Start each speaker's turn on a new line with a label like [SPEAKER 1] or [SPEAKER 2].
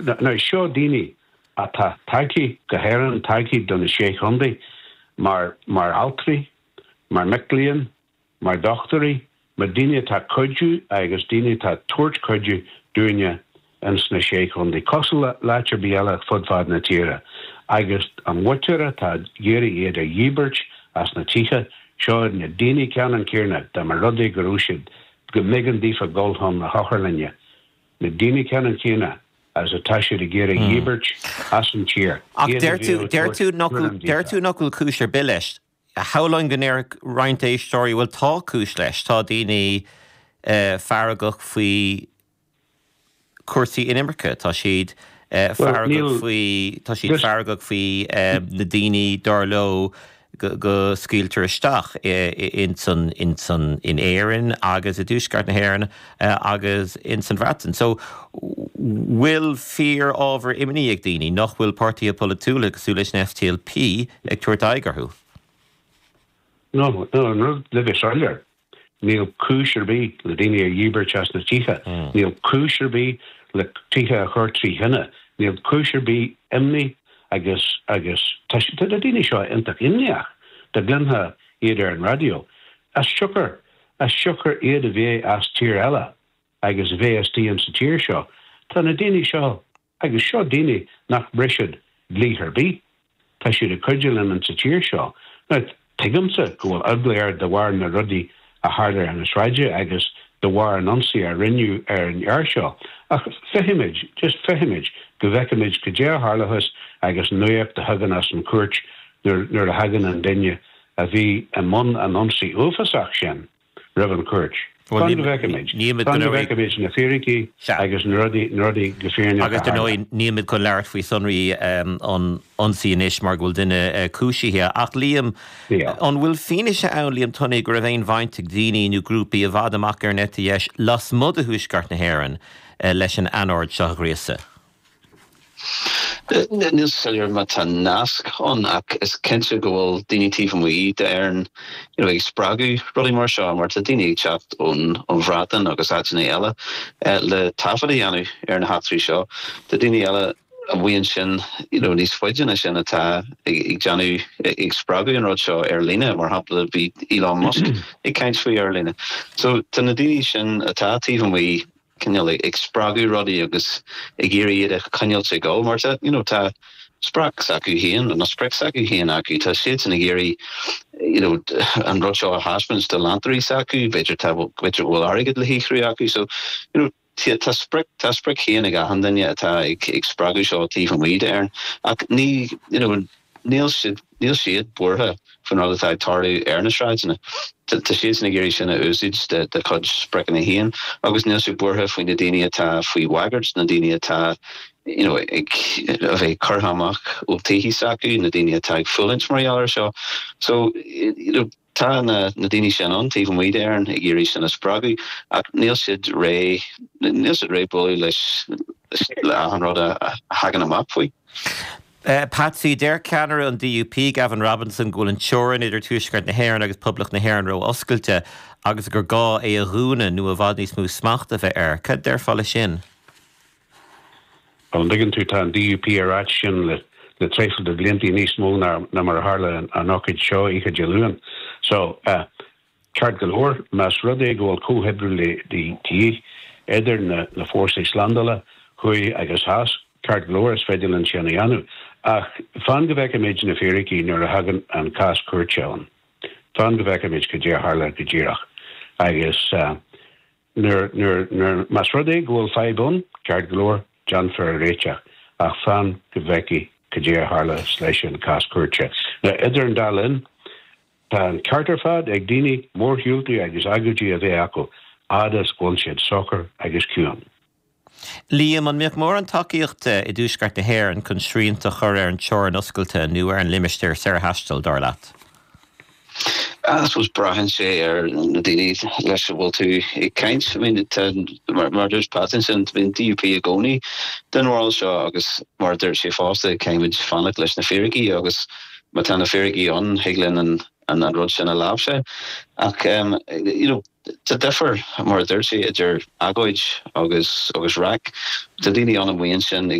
[SPEAKER 1] Now seo daoine atá tagtha go hÉirinn, tagtha do na Sé Chontae mar mar altraí, mar mic léinn, mar dhochtúirí, mar daoine atá cuidiú agus daoine atá tabhairt cuidiú dúinne ins na Sé Chontae, cosúil le áit ar bith eile fud fad na tíre. Agus an mhuintir atá ag iarraidh iad a dhíbirt as na tithe, seo iad na daoine ceannann céanna, dá mba rud é go raibh siad, go mb'éigean daofa dul chun na hotharlainne, na daoine ceannann céanna agus atá siad ag iarraidh dhíbirt as an tír,
[SPEAKER 2] Ach
[SPEAKER 1] iad a
[SPEAKER 2] deir tú,
[SPEAKER 1] bhíodh ag
[SPEAKER 2] deir
[SPEAKER 1] tabhairt
[SPEAKER 2] tú nach bhfuil,
[SPEAKER 1] cúram
[SPEAKER 2] deir
[SPEAKER 1] daofa.
[SPEAKER 2] tú nach bhfuil cúis ar bith leis. Shamhlóinn go ndéarfadh roinnt éisteoirí, bhuel tá cúis leis, tá daoine feargach faoi chúrsaí inimirce, tá siad feargach faoi, tá siad feargach faoi na daoine dar leo go scaoiltear isteach ins an, ins an, in Éirinn agus i dTuaisceart na hÉireann agus ins an Bhreatain. So bhfuil fíor-ábhar imní ag daoine nach bhfuil páirtithe polaitiúla cosúil leis an SDLP ag tabhairt aghaidh orthu?
[SPEAKER 1] No, no, an rud le bheith soiléir, níl cúis ar bith le daoine a dhíbirt as na tithe, níl cúis ar bith le tithe a chur trí thine, níl cúis ar bith imní agus, agus tá, tá na daoine seo iontach imníoch, dá gcluinfeá iad ar an raidió, as siocair, as siocair iad a bheith as tír eile agus a bheith istigh insa tír seo. Tá na daoine seo Agus seo daoine nach mbriseann dlí ar bith. Tá siad ag cuidiú linn insa tír seo. Now, tuigimse go bhfuil eagla air de bharr na rudaí a tharla ar na sráide agus de bharr an ionsaí a rinneadh ar an fhear seo. Ach feicfimid, just feicfimid, go bhfeicfimid cad é a tharlóchas agus an nuacht a thagann as an chúirt nuair a thagann an duine a bhí i mbun an ionsaí uafásach sin. roimh an chúirt. Fan go bhfeicfimid. Fan go bhfeicfimid na fíricí agus na rudaí, na rudaí go fírinneach
[SPEAKER 2] Agus
[SPEAKER 1] a
[SPEAKER 2] dar
[SPEAKER 1] tharla.
[SPEAKER 2] ndóigh, nílimid chun labhairt faoi sonraí an ionsaí anois mar go bhfuil duine cúisithe. Ach Liam, an bhfuil fianaise ann, Liam Tunney, go raibh aon bhaint ag daoine nó grúpaí i bhfad amach ar an eite dheis lasmuigh de Thuaisceart na hÉireann leis an anord seo a ghríosadh?
[SPEAKER 3] Níl soiléir má tá nasc ann ach is cinnte go bhfuil daoine taobh amuigh d'Éirinn you know ag spreagadh rudaí mar seo mar tá daoine ag teacht ón ón Bhreatain agus áiteanna eile le taifead a dhéanamh ar na heachtraí seo. Tá daoine eile amuigh ansin you know níos faide ná sin atá ag ag déanamh ag spreagadh an rud seo ar líne mar shampla bhí Elon Musk ag caint faoi ar líne. So tá na daoine sin atá taobh amuigh cineál ag spreagadh rudaí agus ag iarraidh iad a choinneáilt ag dul mar tá you know tá sprioc s'acu féin nó sprioc s'acu féin acu tá siadsan ag iarraidh you know an rud seo a thaispeáint do leantóirí s'acu b'fhéidir tá b'fhéidir go bhfuil airgead le shaothrú acu so you know tá sprioc tá sprioc féin ag achan duine atá ag ag spreagadh seo taobh amuigh d'Éirinn ach ní you know Níl siad, níl siad buartha faoin rud atá ag tarlú ar na sráideanna. Tá siadsan ag iarraidh sin a úsáid dá gcuid spriocanna féin agus níl siad buartha faoi na daoine atá faoi bhagairt, na daoine atá you know ag a bheith curtha amach ó tithe s'acu, na daoine atá ag fulaingt mar gheall air seo. So you know tá na na daoine sin ann taobh amuigh d'Éirinn ag iarraidh sin a spreagadh ach níl siad réidh, níl siad réidh bualadh leis le achan rud a thagann amach faoi.
[SPEAKER 2] Patsy, deir ceannaire an DUP, Gavin Robinson, go bhfuil an teorainn idir Tuaisceart na hÉireann agus Poblacht na hÉireann ró-oscailte agus gur gá é a dhúnadh nó i bhfad níos mó smachta a bheith air. Cad déarfá leis sin?
[SPEAKER 1] Bhuel, an dtuigeann tú, tá an DUP ag ráit sin le le traidhfil de bhlianta, níos mó ná mar a tharla an ócáid seo oíche Dé Luain. So, Ceart go leor, más rud é go bhfuil comhoibriú le de dhíth idir na fórsaí slándála, thuaidh agus theas, ceart go leor, is féidir linn sin a dhéanamh. Ach fan go bhfeicfimid na fíricí nuair a thagann an cás cúirte ann. Fan go bhfeicfimid cad é a tharla go díreach. Agus nuair, nuair, nuair, más rud é go bhfuil fadhb ann, ceart go leor, déanfar a réiteach. Ach fan go bhfeicfidh cad é a tharla leis an cás cúirte. Now, idir an dá linn, Tá an ceart ar fad ag daoine mórshiúltaí agus agóidí a bheith acu, fhad is go bhfuil siad socair agus ciúin.
[SPEAKER 2] Liam, an mbeadh mórán tacaíochta i dTuaisceart na hÉireann chun srianta a chur ar an teorainn oscailte nó ar an limistéar saorthaistil, dar leat?
[SPEAKER 3] I suppose braitheann sé ar na daoine leis a bhfuil tú ag caint. I mean, tá, mar a dúirt Pat ansin, bhí an DUP i gcónaí den bharúil seo agus mar a dúirt sé fosta, caithfimid fanacht leis na fíricí agus Má tá na fíricí ann, thig linn an rud sin a láimhseáil. Ach you know tá difear, mar a dúirt sé, idir agóid agus agus raic. Tá daoine ann amuigh ansin ag.